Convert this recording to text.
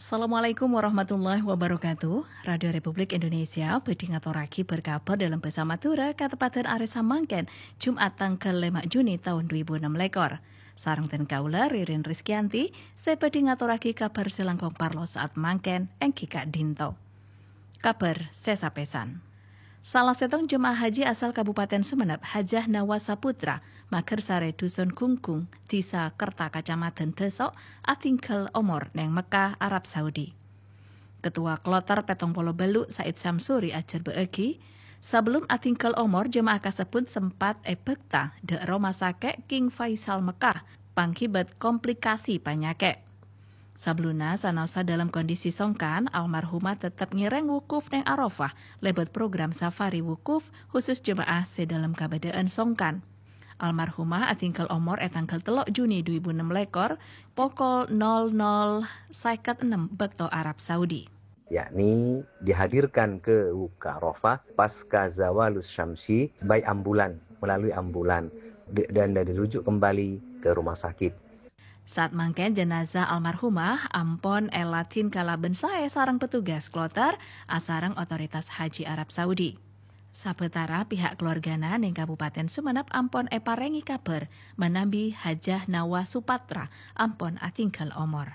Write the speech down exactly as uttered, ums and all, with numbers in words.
Assalamualaikum warahmatullahi wabarakatuh. Radio Republik Indonesia bhâdhi ngatorraghi bâr-kabhâr dâlem bhâsa Madhurâ kateppadhân arè samangkèn, Jum'at tangghâl lèma' Juni taon dhu èbu ennem lèkor. Sareng dhân kaulâ, Ririn Rizkyanti, sè bhâdhi ngatorraghi kabhâr sè langkong parlo sa'at mangkèn, èngghi ka'dinto. Kabhâr sè sapèsan. Sala sèttong jemaah haji asal Kabupaten Sumenep, Hajah Nawa Saputra, Magersare Dusun Gunggung, Dhisa Kerta Kacamadhân Dâso', atinggal omor neng Mekkah, Arab Saudi. Ketua Kloter pèttong polo bâllu', Said Samsuri, ajhârbâ'âghi, sabellum atinggal omor, jemaah kasebbhut sempat èbhâkta dâ' Roma Sakè' King Faisal Mekkah, pangghibât komplikasi panyakè'. Sabellunna, sanaossa dâlem kondisi songkan, almarhumah tettep ngèrèng wukuf neng Arafah lèbât program safari wukuf khusus jemaah sè dâlem kabâdâ'ân songkan. Almarhumah atinggal omor è tangghâl tello' Juni dhu èbu ennem lèkor, pokol nol nol sèket ennem bâkto Arab Saudi. Yakni dihadirkan ke Wukuf Arafah pasca zawalus syamsi by ambulan, melalui ambulan, d-, dan dirujuk kembali ke rumah sakit. Sa'at mangkèn jenazah almarhumah ampon èladhin kalabân saè sareng petugas kloter asareng otoritas haji Arab Saudi. Sabâtara pihak keluargana neng Kabupaten Sumenep ampon èparèngè kabhâr manabi Hajah Nawa Supatra ampon atinggal omor.